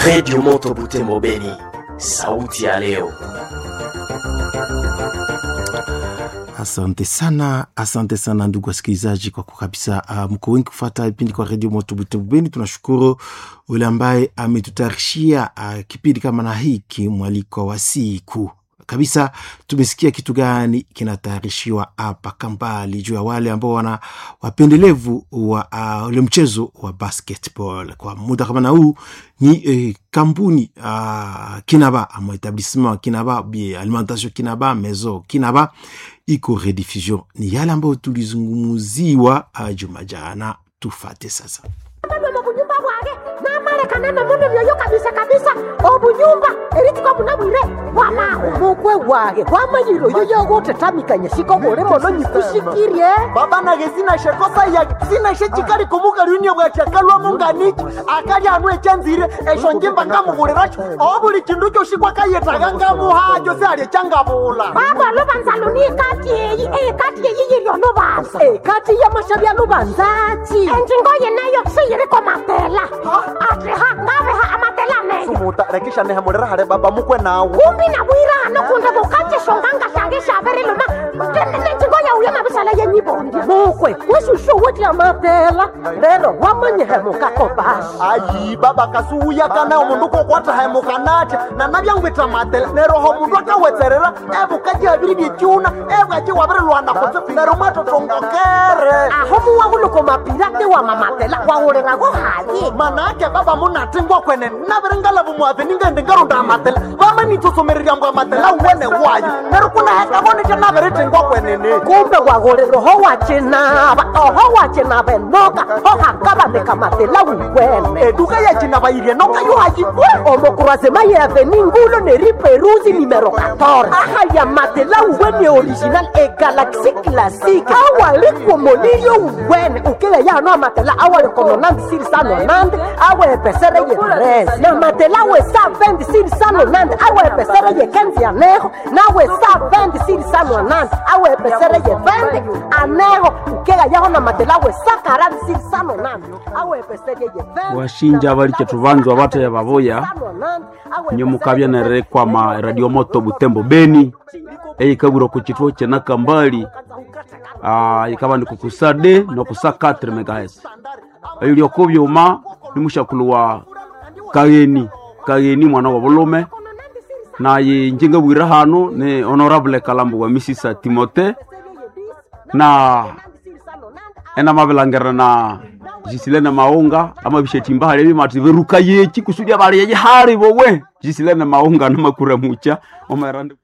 Redio Moto Butembo Beni, sauti ya leo. Asante sana, asante sana ndugu wasikilizaji, kwa kwa kabisa mko wengi kufuata vipindi kwa redio Moto Butembo Beni. Tunashukuru ule ambaye ametutayarishia kipindi kama na hiki, mwaliko wa siku kabisa. Tumesikia kitu gani kinatayarishiwa hapa Kambali juu ya wale ambao wana wapendelevu wa ule mchezo wa basketball kwa muda kama na huu ni kampuni Kinaba ama etablissement Kinaba bi alimentation Kinaba maison Kinaba iko rediffusion. Ni yale ambayo tulizungumuziwa juma jana, tufate sasa. Obunyumba bwage namalekana nomundu byoyo kabisa kabisa obunyumba eritiko bunabwire wama omukwe wage wamanyire oyo yogotetamikanya siko buli mono nyikusikirie. Baba nage sinashe kosa ya sinashe chikali kumukalunia bwachakalwa nganichi akali anu echanzire esho njimba ngamubuliracho obuli chindu kyoshi kwakayetaga ngamuhacho siali changabula. Baba lubanza luni ekati eyi ekati eyi yiri olubanza ekati yamashabya lubanzachi enjingo yenayo siyiriko matela atiha ngabeha amatela meyo. Sumuta rekisha nehemulira hale baba mukwe nawe. Kumbi nabwira hano kunde bukachishonganga shange shabiriluma nenjingo yauye mabisala yenyibondi mukwe wesushu wetya matela lero wamanyihemuka kobasi. Ayi baba kasuuya kana omundu kokwata hemukanatya nanabyangwitha matela neroho omundu akawetserera ebukaji abiri byekyuna ebwaki wabirilwana kutse nero mwatotongokere. Aho muwahuluko mapirate wa mamatela wawulirago hayi. Manake baba munatingwa kwene nabiringalavu muave ningendi ngarunda amatela vamanitsosomererya mbwa amatela wene wayo nero kunahekavonetya nabiritingwa kwenene. Kumbe wagulira oho wacinaba oho wacinaba enoka ohakabanika matela wukwene. Eduka yacinaba noka yohayikwe. Omokurasema yeaveni ngulo neriperuzi nimero 14 aha ya matela uwene original e galaxy classic awalikwomolilyo uwene ukile yano amatela awalikononandi sirisanonandi awepesere ye 13 na matela we sa 20 sirisanonandi awepesere ye 15 aneho nawe sa 20 sirisanonandi awepesere ye 20 aneho ukela yaho na matela we sa 40 sirisanonandi awepesere ye 20. Washinja baliche tubanzwa bateye babuya nyomukabya nerekwama Radio Moto Butembo Beni eyikabwirwa ku kituo kye Kambali ikaba ni kukusa d nokusa 4 megahertz eyo lyokubyuma ni mushakulu wa Kageni Kageni mwana wa bulume naye njingabwira hano ni honorable Kalambo wa Misisa Timote na enamabilangira na jisilene maunga amabishetimba hali bimati beruka yechi kusudia bali yeji hali bowe jisilene maunga namakura mucha omerande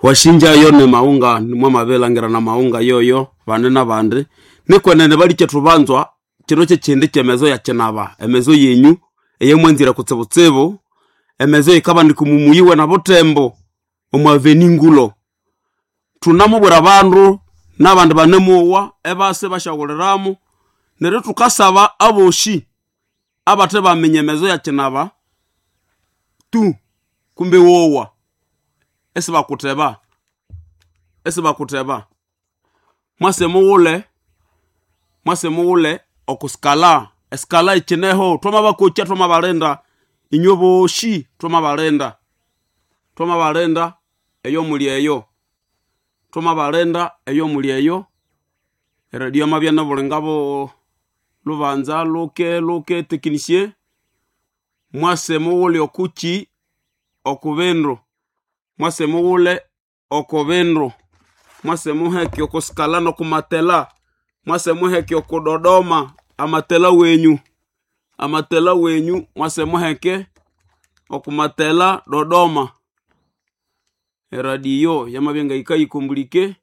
washinja yo ne maunga nimwe mabelangira na maunga yoyo bande na bande nikwenene baliche tubanzwa kino kyekindi kyemezo ya kinaba emezo yenyu eyemwenzira kutsibutsibu emezo ikaba nikumumuyiwe na butembo omwaveni ngulo tunamubwira bandu n'abandi banemuwa ebase bashawuliramu neryo tukasaba aboshi abathe baminya emezo ya kinaba tu kumbe wowa esibakuteba esibakuteba mwase muwule mwase muwule okusikala esikala ikineho twamabakokya twamabalinda inywe boshi twamabalinda twamabalinda eyo muli eyo twamabalinda eyo muli eyo eradio mabya nabulingabo lubanza luke luke technicien mwase muwule okuki okubindu mwase muwule okubindu mwase muheke okusikala nokumatela mwase muheke okudodoma amatela wenyu amatela wenyu mwase muheke okumatela Dodoma eradio yamabya ngayikayikumbulike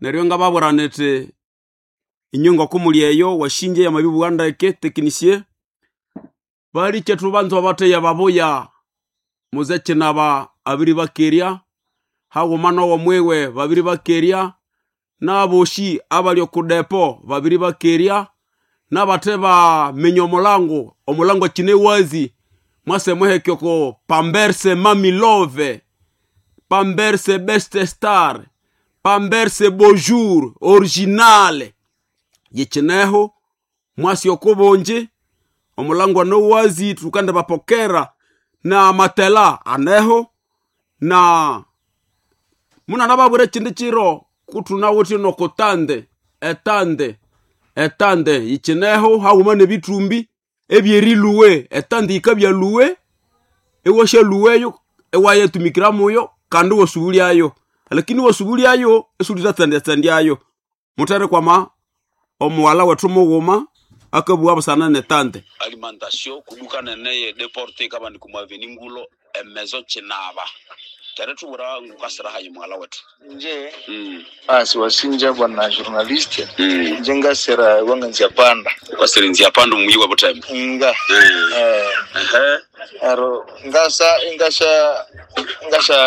neryo ngababwira niti inywe ngokumuli eyo washinje yamabibugha ndeke technicien baliche tubanzwa bateya babuya muze kinaba abiri bakerya haghuma nowo mwiwe babiri bakerya n'aboshi abali okudepo babiri bakerya n'abathe baminya omulango omulango kine wazi mwase muheke oko pamberse mamilove pamberse best star pamberse bonjour original yikineho mwasi okubungi. Omulango anowazi tukande bapokera na matela aneho na munana babwire chindi chiro kutunawuthi nokutande etande etande yichineho haghuma nebitumbi ebyeriluwe etande yikabyaluwe ewashaluweyo ewayetumikira muyo kandi wasubulyayo lakini wasubulyayo esulitatsandyatsandyayo mutere kwama omuwala wethu mughuma akabugha busana netande alimentation kuduka nene deporte kabandi kumaveni ngulo emezo chinaba tere tubura ngukasira hayi mwala wetu nje asi wasinja bwana journaliste nje ngasera wanga nzia panda ukasira nzia panda muyi wa butembo nga ehe aro ngasa ngasha ngasha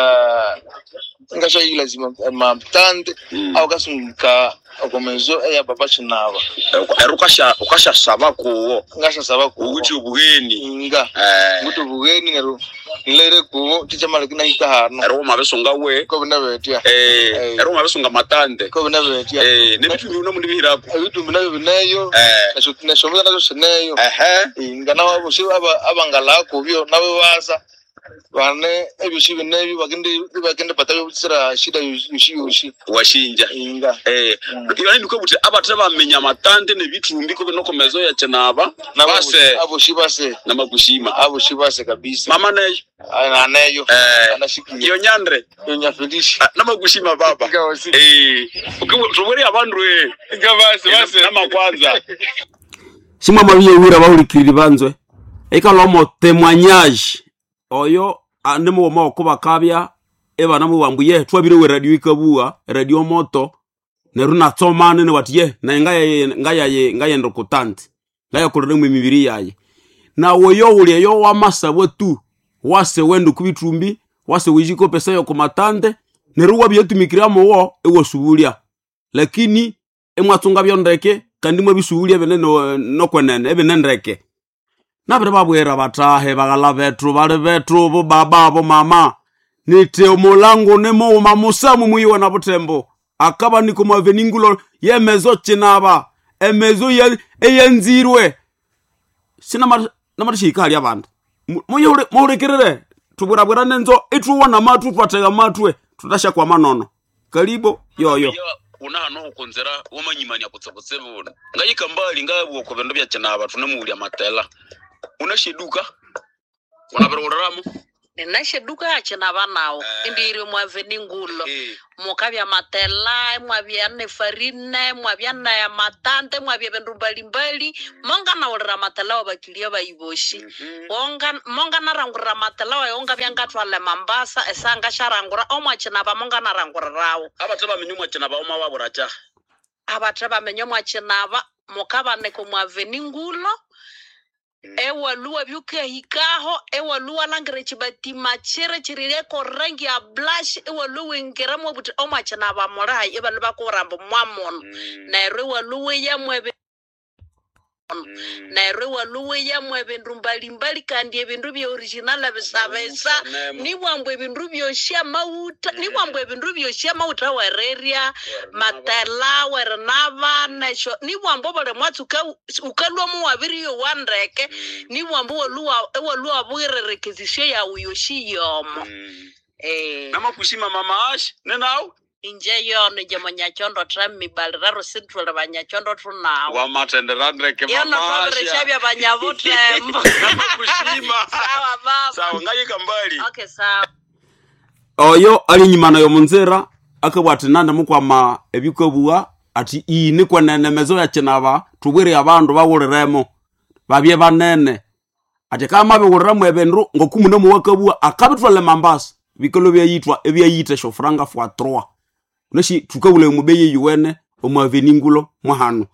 ngasha ila zima maptande au kasunga okomezo eya baba chinaba ero ukasha ukasha saba kuwo ngasha saba kuwo ukuthi ubuheni nga ukuthi ubuheni nero nilere kuwo chichamala kina hikahano ero mabesunga we ko bina betya ero mabesunga matande ko bina betya nebitumbi uno mundi bihirako ebitumbi nabyo bineyo neshomuza nazo sineyo nga nabo bosi abangala kubyo nabo baza bane ebyosi binebyo bagende bagende pata byotsira shida yoshi yoshi washinja inga yani niko buti abathe bamenya matande nebitumbi ko binokomezo ya chenaba base aboshi base namakushima aboshi base kabisa mama neyo aneyo anashikiye iyo nyandre iyo nyafelishi namakushima baba tuburi abandu ngabase base namakwanza simwa mabiyewira bahulikiriri banzwe ikalomo témoignage oyo nimughuma okubakabya ebana mubambu ye twabire we radio ikabugha radio moto neru natsomane newati ye naye ngayaye ngayenda okutanti ngayakolera mwe emibiri yaye nawe yo uli eyo wamasabwa tu wase wenda okubitumbi wase wijikopesa yokumatande neru wabyetumikira muwo ewasubulya lakini emwatsunga byondeke kandi mwabisubulya ebine nokwenene ebine ndeke nabiri babwira batahe baghala bethu bali bethu bobaba bomama niti omulango nimughuma musamu muyiwe na butembo akaba niko mwaveningulo yemezo chinaba emezo eyanzirwe sinamatishihika hali abandu muhulikirire tubwirabwira nenzo ithuwona mathu twatega matwe tutashakwama manono kalibo yoyo unahano hukunzira wamanyimania kutsekutsevuna ngayikambali ngabwa ku bindu bya chinaba tunemuulya matela unashiduka unabiriwuliramo ninashiduka achinaba nawo indiri mwaveni ngulo mukabya matela mwabya ne farine mwabya na matante mwabya bindu mbalimbali monganawulira matela wa bakilia bayiboshi wonga monganarangurira matela wayo ngabya ngatwala mambasa esanga sharangura omwachinaba monganarangurirawo abathe bamenye omwachinaba oma waburacha abathe bamenye omwachinaba mukabaneka omwaveni ngulo ewaluwa byukahikaho ewaluwa langira ekibatima chiri chirireko rangi ya blush ewaluwa ingiramo buti omwachinaba mulayi ebandu bakuburambo mwamuno neryo ewaluwa yamwe neryo ewaluwa yamwe ebindu mbalimbali kandi ebindu bya original bisabisa nibwambu ebindu byosi amawuta nibwambu ebindu byosi amawuta wererya matela werinaba nesho nibwambu buli mwatsi ukalwa muwabiriyo wandeke nibwambu ewaluwa bwirerekezisyo yawu yosi yomo namakushima mama ash nenawe inje yono nje munyachondo trammibalira rusintwele banyachondo tunawo wamatendera ndeke yono twabirishabya banyabutembo namakushima sawa baba sawa ngayika mbali okay sawa oyo ali enyuma nayo munzira akabwa ati nandi mukwama ebikabugha ati iyi nikwenene mezo ya chinaba tubwire abandu bawuliremo babye banene ati kamabiwuliramu ebindu ngokumune muwakabugha akabithwala mambasa bikalo byayithwa ebyayitha eshofuranga fwa 3 neshi thukabula omubeyi eyuwene omwaveningulo mwahano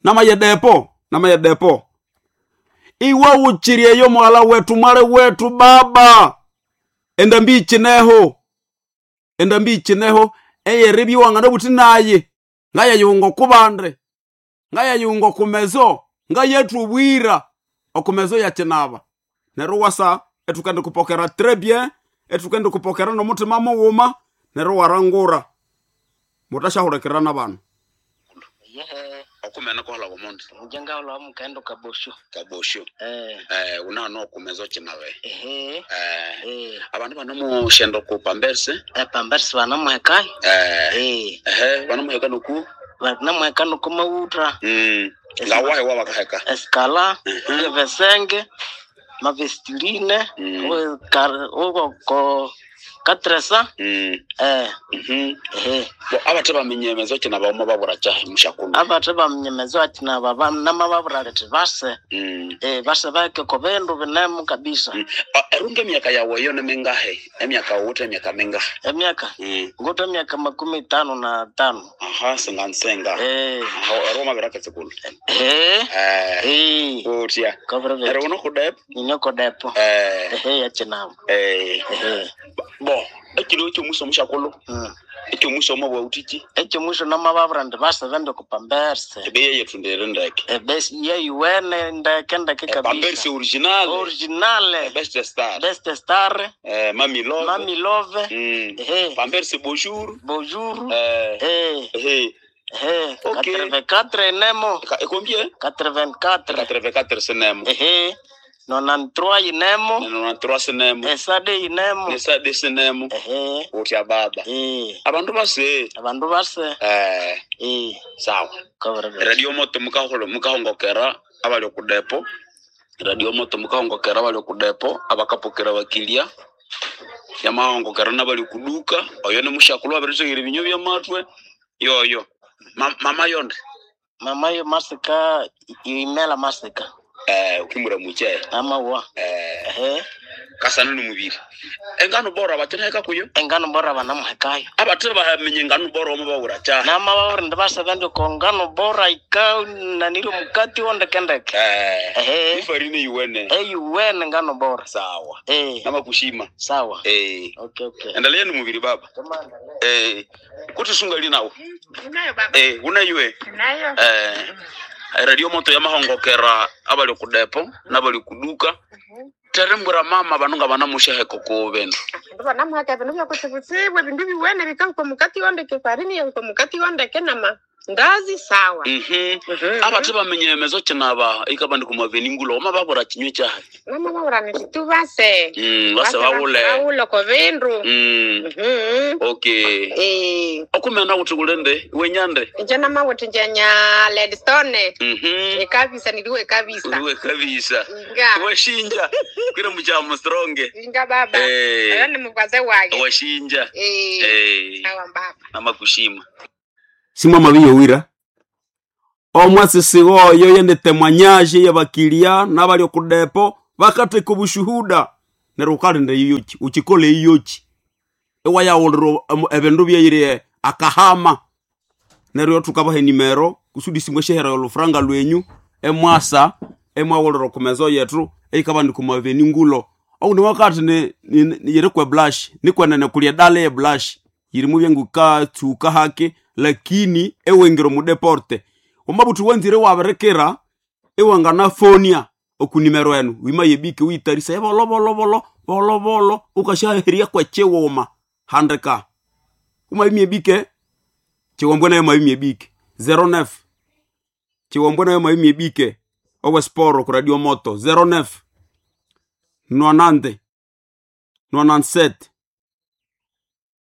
namayedepo namayedepo iwe wuchiri eyo mwala wetu mwale wetu baba endambi ichineho endambi ichineho eyeribyiwanga nobuthi naye ngayayunga okubande ngayayunga okumezo ngayethubwira okumezo yakinaba neryo wasa etukende kupokera très bien etukende kupokera nomutima mughuma neryo warangura mutashahulikirana bano Okumena kohola omundu. Nje ngahola mukendo kabosho. Kabosho. Unano okumezo kinabe. Ehe. Abandu banamushenda ku pamberse. Pamberse banamuhekayo. Ehe, banamuheka noku? Banamuheka noku mawuta. Ngawahe wabakaheka? Eskala, evesenge, mavestiline, ko katresa. Bo abathe bamenyemezo kina bauma babura kyahe mushakulu. Abathe bamenyemezo kina baba nama babura leti base. Base bake ko bindu binemu kabisa. Erunga emyaka yawe yo nemingahe? Emyaka wote emyaka mingahe? Emyaka? Ngote emyaka 55. Aha, singansenga. Aho eroma biraketse kulu. Utya. Ero uno kudepo? Ninyo kudepo. Yakinabo. Bo, ekiro ekyomuso mushakulu. Ekyomuso omo bwautiki. Ekyomuso namababura ndi basebende ku pamberse. Ebeyi yethu ndeke. Ebesi yeyuwene ndeke ndeke kabisa. Pamberse original. Original. Best star. Best star. Mami love. Mami love. Pamberse bonjour. Bonjour. Okay. 84 enemo. Combien? 84. 84 senemo. 93 inemo. 93 senemo. Esade inemo. Esade senemo. Utya baba. Abandu base. Abandu base. Sawa. Radio moto mukahongokera abali okudepo. Radio moto mukahongokera abali okudepo abakapokera bakilia. Yamahongokera nabali kuduka. Oyo ne mushakulu abirisegera ebinyo byamatwe. Yoyo. Mama yonde. Mama yo masika imela masika. Ukimura muche. Amawa. Kasana numubiri. Engano bora bateneka kuyo. Engano bora banamuhekayo. Abathe bahamenye engano bora omo bawura cha. Nama bawura ndibasabende ko ngano bora ika naniro mukati wondekendeke. Ifarine yuwene. Yuwene ngano bora. Sawa. Nama kushima. Sawa. Okay. Endelea numubiri baba. Kuti sunga linawo. Unayo baba. Unaywe. Unayo. Radio moto yamahongokera abali kudepo nabali kuduka. Terembura mama banunga banamusheheko ku bindu. Banamuheka bindu byakutsibutsibwe bindu biwene bikauka mukati wondeke farini yauka mukati wondeke nama ndazi sawa. Abathe bamenyemezo kinaba ikabandi kumaveningulo oma babura kinywe kyahe. Mama babura niti base. Base bawule. Bawule ko bindu. Okay. Okumena kuti kulende wenyande. Nje namawuthi njenya Ledstone. Ekabisa niliwe kabisa. Uliwe kabisa. Nga. Washinja. Kwira muchamo stronge. Inga baba. Ayo ni mukwaze wage. Washinja. Sawa baba. Namakushima. Simwa mabiyowira. Omwasisigo oyo yende temwanyaje yabakilia nabali okudepo bakateka obushuhuda neryo ukalinda iyoki ukikole iyoki ewayawulira ebindu byeyire akahama neryo tukabaha enimero kusudi simwe shehera olufuranga lwenyu emwasa emwawulira okumezo yetu eikabandi kumaveni ngulo oundi wakati ni yiri kwe blush nikwenene kulya dala ye blush yirimu byengukatsuka hake lakini ewengire mudeporte omabuthi wanzire wabirekera ewanganafonia okunimero enu wima yebike witarisa ebolobolobolo bolobolo ukashaheria kwechiwuma handika umaimyebike chiwombwe nayo maimyebike 09 chiwombwe nayo maimyebike owe sporo ku radio moto 09 90 97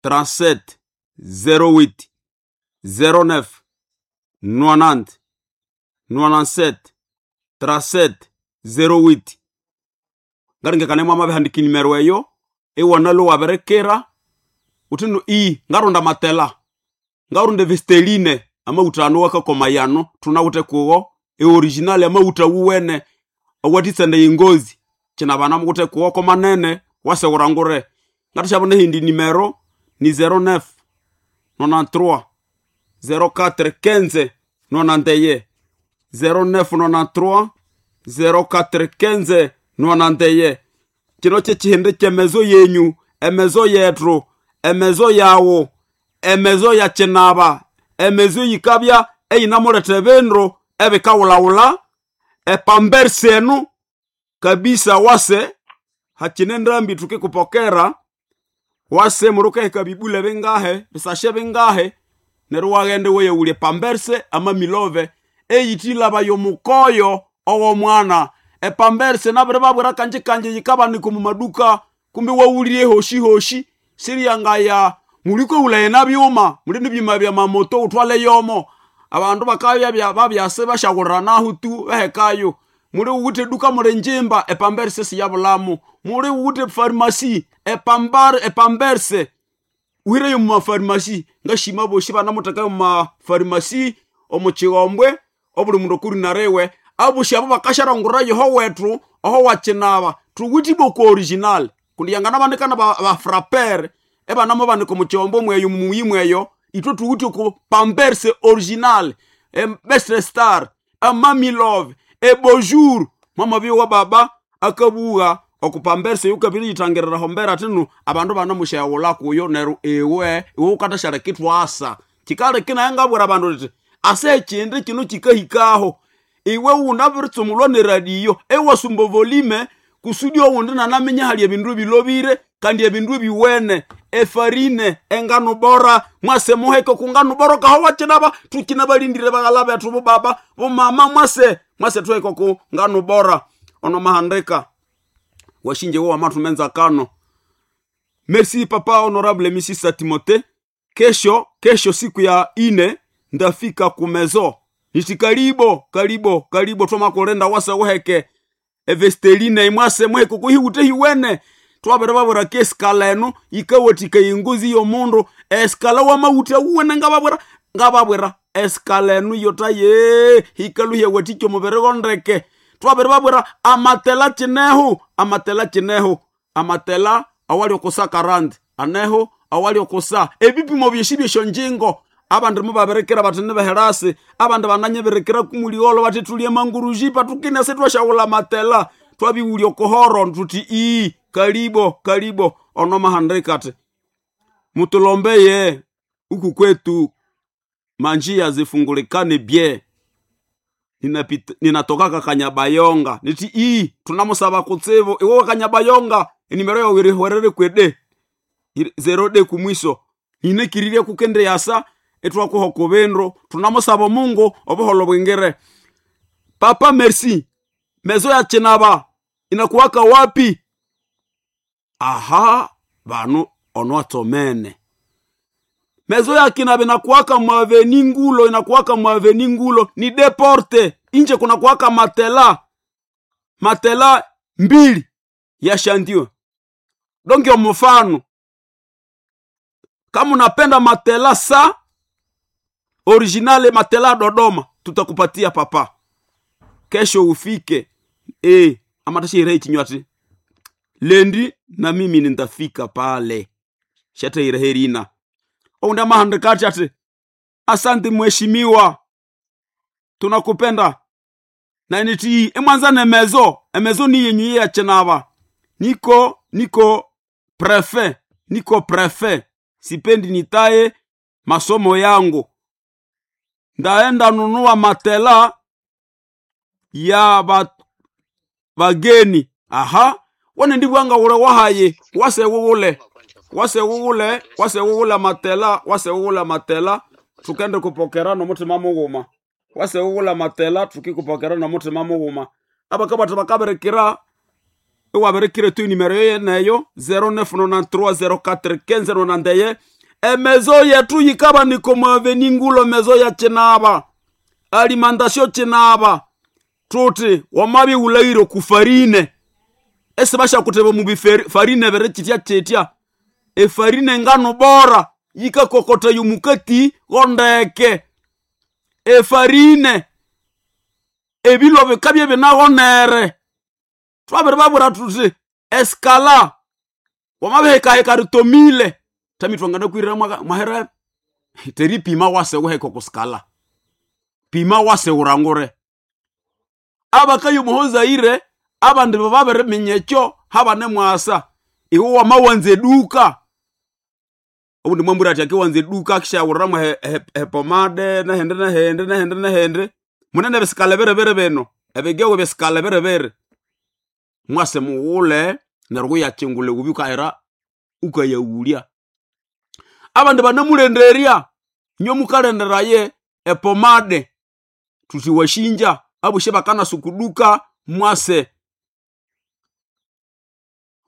37 08 09 90 97 37 08 ngaringekane mwama bihandika inimero eyo iwanalo wabirekera utino i ngarunda matela ngarunda vesteline amauta ano wakakoma yano tunawute kuwo eoriginal amauta wuwene awatitsende ingozi china bana mukute kuwo komanene wasewurangure ngatishabona hindi nimero ni 09 93 04 15 91 09 93 04 15 91 kino kyekihindi kyemezo yenyu emezo yethu emezo yawo emezo ya kinaba emezo yikabya eyinamuletha ebindu ebikawulawula epambersi enu kabisa wase hakine ndambi tukikupokera wase murukahika bibule bingahe bisashe bingahe neryo waghende weyawulya pamberse amamilove Eyitilaba yomukoyo ow'omwana. Epamberse nabiri babwira kanji kanji yikabanika omu maduka kumbe wawulire hoshi hoshi siriyangaya muliko ulaye na byuma muli nibyuma bya mamoto utwale yomo abandu bakabya babyase bashawuliranaho tu behekayo muli wuwithe duka muli njimba epamberse siyabulamu muli wuwithe farmasi epamberse uhireyo mumafarmasi ngashima boshi banamuthekayo mumafarmasi omu kighombwe obuli mundu okurinariwe aboshi abo bakasharangurira yoho wethu oho wakinaba thuwithe iboko original kundi yanganabanikana bafrapere ebanamubanika omu kighombwe mweyo mumuyi mweyo ithwe thuwithe oku pamperse original best star amami love ebonjour mwamabyowa baba akabugha okupamperse yukabiri yithangirira hombera thinu abandu banamusyaghulha kuyo neryo iwe iwe wukathashaleka ithwasa kikaleka naye ngabwira abandu indi ase ekindi kino kikahikaho iwe wunabiritsumulwa neradiyo ewasumba volume kusudi owundi nanaminya hali ebindu ebilobire kandi ebindu ebiwene efarine engano bora mwase muheke kungano bora kaho wakinaba tukinabalindire baghala bethu bobaba bomama mwase mwase tuheke ku ngano bora ono mahandika washinje wo wamathumenza kano. Merci papa honorable Misisa Timote. Kesho kesho siku ya ine ndafika kumezo niti karibo karibo karibo twamakulenda wase wuheke evesteline imwase muheke kuhiwute hiwene twabere babwira ke esikala eno yikawathika ingozi y'omundu esikala wamawutha wuwene ngababwira ngababwira esikala eno yotaye hikaluhya wathikya omubiri gondeke twabere babwira amatela kineho amatela kineho amatela awali okusa karandi aneho awali okusa ebipimo byeshi byesyo abandi mubabirikira bathi nibeherasi abandi bananyibirikira kumuliolo bathi tulye manguruji patukine sitwashawula matela twabiwulya okuhoro tuthi ii kalibo kalibo ono mahandika ati mutulombeye uku kwetu manjia zifungulikane bye ninatokaka Kanyabayonga niti ii tunamusaba kutsibu iwe Kanyabayonga enimero yawe irihwerere kwede 0d kumwiso ninekiririe kukende yasa etwakuha kubindu tunamusaba Mungu obuholo bwingire. Papa merci mezo ya chinaba inakuwaka wapi? Aha banu onwatomene mezo ya kinaba inakuwaka mwaveni ngulo inakuwaka mwaveni ngulo ni deporte inje kunakuwaka matela matela mbili ya shandio donge mfano kama unapenda matela sa originale matela Dodoma tutakupatia papa kesho ufike amatashirei chinywati lendi na mimi nitafika pale shateire ounda mahandikati ati asante mheshimiwa tunakupenda na niti emwanza nemezo emezo ni yenyu ya chinaba niko niko prefe niko prefe sipendi nitaye masomo yangu ndaenda nunua matela ya bageni aha wane ndibwanga ule wahaye wasewuwule wasewuwule wasewuwule matela wasewuwule matela tukende kupokera nomutima mughuma wasewuwule matela tukikupokera nomutima mughuma abakabata bakaberekera iwaberekire tu nimero yeneyo 0993041591 emezo yetu yikaba nikomwaveni ngulo mezo ya chinaba alimantasio chinaba tuti wamabi ulairo kufarine ese bashakuteba mu bifarine bere chitya chitya efarine ngano bora yikakokota yomukati gondeke efarine ebilo bikabye binagonere twabere babura tuti eskala wamabihekaheka ritomile tamitwangana kwirira mwahere teri pima wase wuheka kuskala pima wase urangure abakayo muhozaire abandi bababiriminya ekyo habane mwasa iwe wamawanza eduka obundi mwambwira ati akiwanza eduka akishawuriramu hepomade nehende nehende nehende nehende munene ebisikala birebere bino ebigewe bisikala birebere mwase mughule neryo wuyakingula wubi ukahira ukayawulya abandi banamulenderya inyo mukalenderaye epomade Tuti washinja abushe bakanasukuduka mwase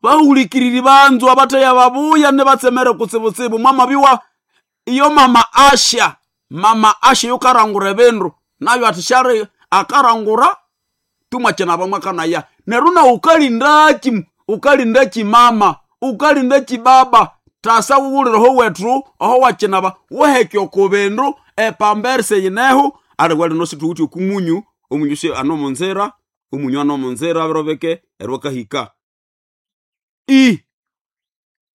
bahulikiriri banzu abateya babuya ne batsemere kutsibutsibu mwamabiwa iyo mama asha yokarangura ebindu nayo atishari akarangura tumwachena bamwakanaya neryo na ukalindachi mama ukalindachi baba tasa wuwulireho wethu oho wachinaba wuheke oko bindu epamberse yineho aliwe lino situwuthi okumunyu omunyu si anomunzira omunyu anomunzira birobeke eryo akahika i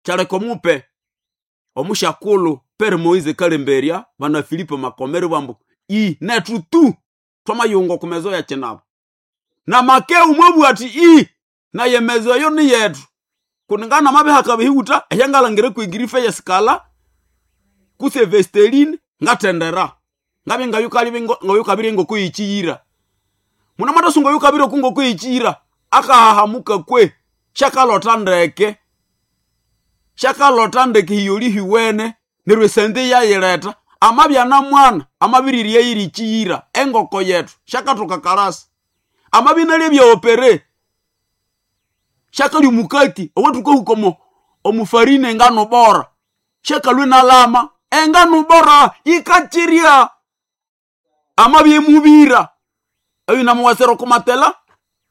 kyaleka omupe omushakulu pere Moise Kalemberia bana Filipo Makomere bambu i nethu tu twamayunga okumezo ya kinaba na makeu mwabugha ati i naye mezo eyo ni yethu kuningana mabihaka bihiwuta ehyangalangire kwigirife yesikala kuse vesteline ngatendera ngabye ngayukabire ngoko yichiyira muna mwatasunga yukabire kungoko yichiyira akahahamuka kwe shakalota ndeke hiyoli hiwene neryo esente yayileta amabya na mwana amabiriri yayirichiyira engoko yethu shakatoka karasi amabinalye byaopere shakali mukati owatukahuka omufarine engano bora shakalwe nalama engano bora yikachiria amabye mubira eyo namuwasera kumatela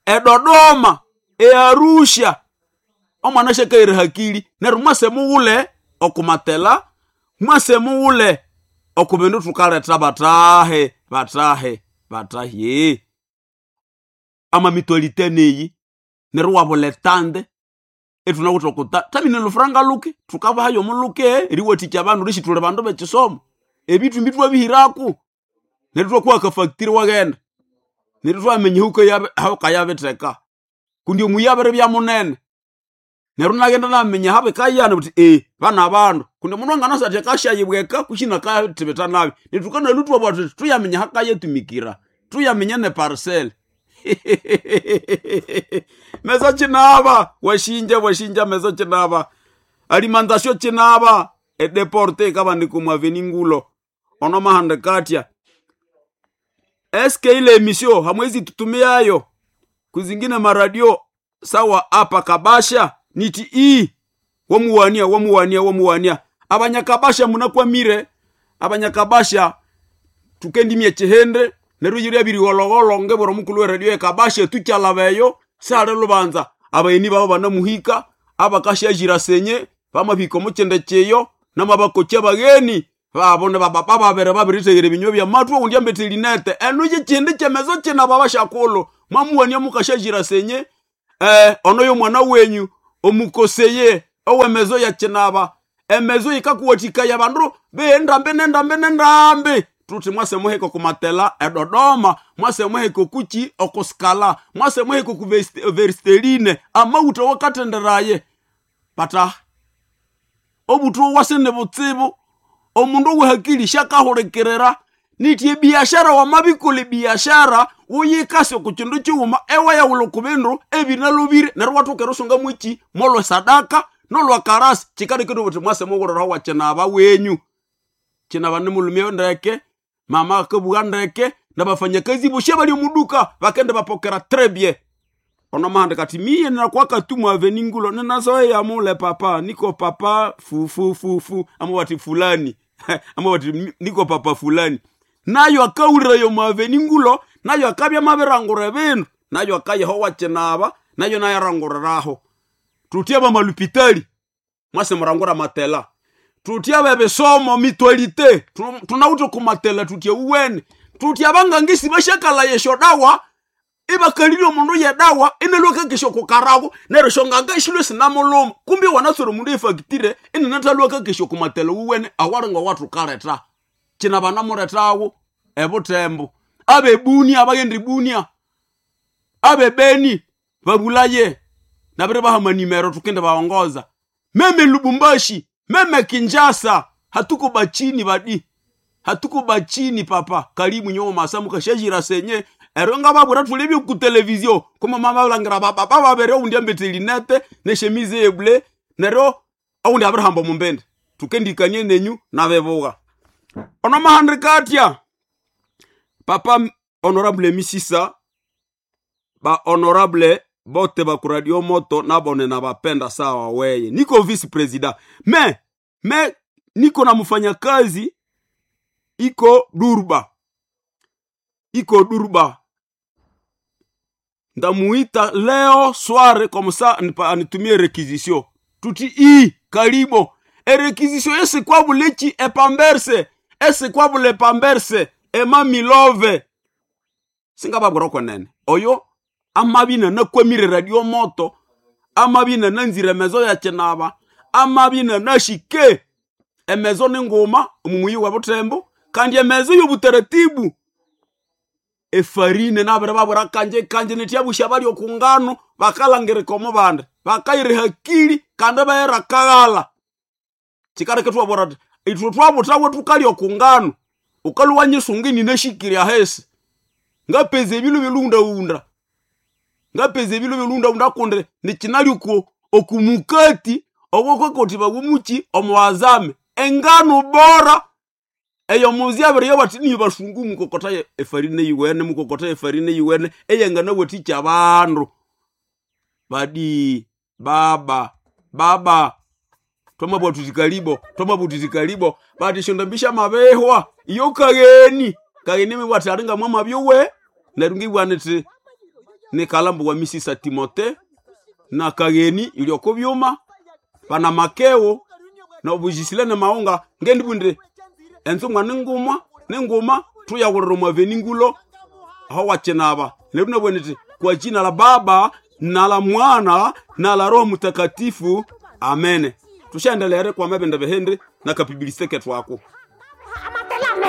edodoma earusha omwana shakaire hakili neryo mwase mughule okumatela mwase mughule okubindu tukaleta batahe batahe amamitolite neyi neryo wabuletande etunawithe okuta tamine lufuranga luke tukabahayo omuluke eriwathikya abandu rishithule bandu bekisomo ebithumbi twabihiraku neryo twakuha akafactory waghenda neryo twaminya hukayabitheka kundi omuyi abiribya munene neryo naghenda naminya habikayana buthi bana bandu kundi omundu anganasa athi akashayibweka kushina akathibitha nabi neryo tukanalhu twabugha thuthi tuyaminya hakayatumikira tuyaminya ne parcel mezo chinaba washinja mezo chinaba alimantasio chinaba edeporte ikabandika aveningulo ono mahanda katya eske ile emisio hamwezi tutumiayo kuzingine maradio sawa apa kabasha niti i wamuwania abanyakabasha munakwamire abanyakabasha tukendimie chihende neryo yiri abirighologholo ngebwera omukulu weradio ekabasha tukyalabeyo sihali lubanza abayeni babo banamuhika abakashajira senye bamabihika omukyende kyeyo namabakoki abagheni babo nibababa babere babiritheghere ebinywa byamathu oundi ambethe linete enu kyekindi kyemezo kinaba bashakulhu mwamuwania mukashajira senye ono yomwana wenyu omukoseye owemezo yakinaba emezo yikakuwathikaya abandu beendambi nendambi nendambi tuthi mwase muhika okumatela edodoma mwase muhika okuki okusikala mwase muhika oku veristeline amawutha wakathenderaye pata obuthu wasene butsibu omundu owehakili shakahulikirira niti ebiashara wamabikolha ebiashara wuyikase oku kindu kighuma ewayawulha oku bindu ebinalobire neryo wathoka erisunga mwiki molwe sadaka nolwa karasi kikalekire buthi mwase mughuliraho wakinaba wenyu kinaba nimulumye ndeke mama akabugha ndeke nabafanyakazi boshe bali omuduka bakende bapokera très bien ono mahanda kati miye nakwaka tu aveningulo ninazoea mule papa niko papa fufufufu ama wati fulani ama wati niko papa fulani nayo akawulirayo mwaveningulo nayo akabya mabirangura ebindu nayo akayeho wakinaba nayo nayaranguriraho tutie bamalupitali mwase murangura matela tutie bebisomo mitwalite tunawithe kumatela tutie uwene tutie abangangisi bashakala yesho dawa ibakalire omundu yedawa inalwakakesha okukarago neryo shonganga ishilwe sinamuluma kumbi wanaswere omundu efactire inanathalwakakesha okumatela uwene awalinga wathukaleta kina banamulethawo ebutembo abebunia abaghenda ibunia abebeni babulaye nabiri bahamanimero tukende baongoza meme lubumbashi meme kinjasa hatuko bachini badi hatuko bachini papa karibu nyomo masamu kashajira senye ero nga babura thule ku televizio kuma mama balangira baba babere oundi ambete linete neshemize yeble nero oundi abirihamba omumbende tukendikanie nenyu nabebuga ono mahandika atya papa Honorable Misisa, ba honorable bote ba kuradio moto nabone na bapenda sawa weye. Niko vice president. Me niko na mfanyakazi iko Durba. Iko Durba. Ndamuita leo soir comme ça anitumie requisition. Tuti i karibo. E requisition ese kwa bulechi e pamberse. Ese kwa bule pamberse. Ema milove. Singababwira kwenene. Oyo amabina nakwamire radio moto. Amabina nanzire mezo ya chenaba. Amabina nashike. Emezo ni nguma omumuyi wa Butembo kandi emezo y'obutaratibu. Efarine nabere babura kanje kanje netyabusha bali okungano bakalangirika omu bandi bakayira hakili kandi bayira kaghala chikareke twabura ati itwe twabutawe tukali okungano ukaluwa nyisunga ninashikiri ahesi ngapeza ebilu bilundaunda ngapeza ebilu bilundaunda kundi nikinali oku okumukati obwokokoti bagumuki omuwazame engano bora eyo muzi abiri yo bati niyo basungu mukokota efarine yiwene mukokota efarine yiwene eyengana weticha abandu badi baba baba twamabwathutikalibo twamabwathutikalibo bati shondambisha mabehwa iyo kageni kageni mibwati alinga mwamabyowe neryo ngibwana ti nikalambu wa misisa Timote na kageni ilyoko byuma bana makeo na obujisile na maunga ngendibunde enzumwa ningumwa ninguma tuyawulira omwaveni ngulo aho wachinaba neryo nabwene ti kwa jina la Baba na la Mwana na la Roho Mtakatifu, amene. Tushaendelere kwa mabende behende na kapibiliseke twako.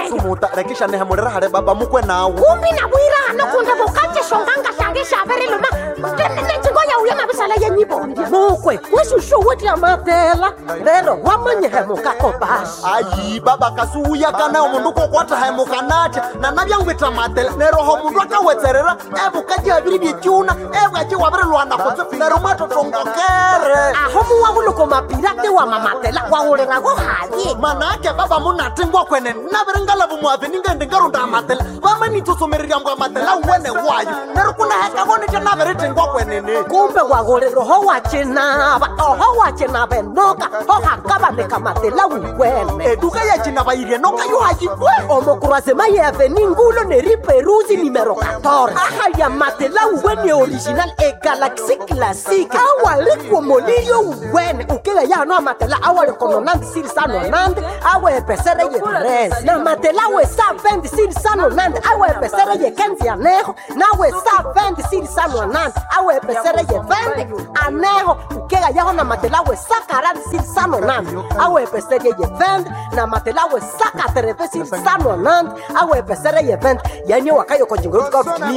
Sumuta rekisha nehemulira hale baba mukwe nawe. Kumbi nabwira kundi bukache shonganga shange shaveriluma nechingoya uye mabisala yenyibondia mukwe weshushu wetya matela lero wamanyihemukako basi. Ayi baba kasuuya kana omundu kokwathahemuka natya nanabyangwitha matela neroho mundu akawetserera ebukaji abiri byekyuna ebwaki wabirilwana kutse nero mwatotongokere. Aho muwahuluko mapirate wa mamatela wahulirago haye. Manake baba munatingwa kwene nabiringalavu mwave ningende ngarunda amatela vamanitsosomererya mbwa amatela wene wayo nero kunahekavo nitya nabiritingwa kwenene. Kumbe wahulira oho wachinava oho wachinava enoka ohakavaneka matela wiwene. Eduka yachinava irenoka yohayikwe. Omokurasema ye ngulo neriperuzi nimero 14 aha ya matela uwene original e galaxy classique awalikwo molilio uwene ukela yano amatela awalikononandi sirisanonandi awepesere ye 3 na matela we sa 20 sirisanonandi awepesere ye 15 aneho nawe sa 20 sirisanonandi awepesere ye 20 aneho ukela yaho na matela we sa 40 sirisanonandi awepesere ye 20 na matela we sa 80 sirisanonandi awepesere ye 20 yani wakayokojingo.